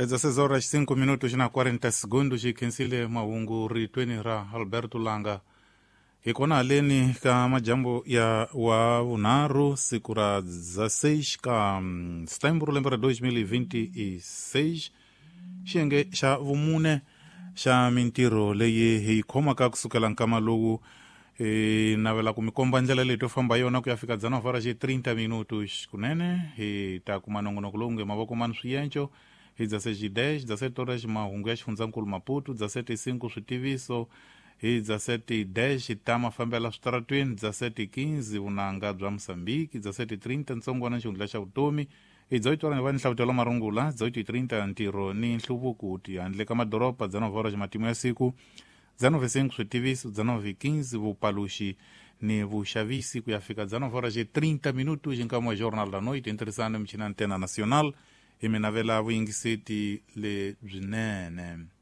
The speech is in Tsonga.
16 horas 5 minutos na 40 segundos. Hi khensile mahungu ritweni ra Alberto Langa. Hi kona haleni ka majambu ya wa vunharhu, siku ra 16 ka setembro lembe ra 2026, xiyenge xa vumune xa mintirho leyi hi yi khomaka kusukela nkama lowu. Hi navela ku mi komba ndlela leyi to famba yona ku ya fika dzana horas e 30 minutos. Kunene hi ta kuma nongonoko lowu nge Mavoko Mani Swienco hi 16:10, 17 horas mahungu ya xifundzankulu Maputo, 17:05 switiviso, hi 17:10 ta mafambela switaratweni, 17:15 vunanga bya Mosambiki, 17:30 ntsongwana xihundla xa vutomi, hi 18 va ni hlavutelo marungula, 18:30 ntirho ni nhluvuko handle ka madoroba, 19 horas matimu ya siku, 19:05 switiviso, 19:15 vupaluxi ni vuxavisi, ku ya fika 19 horas e 30 minutos nkama wa Jornal da Noite. Ntirhisano michini Antena Nacional, hi mi navela vuyingiseti lebyinene.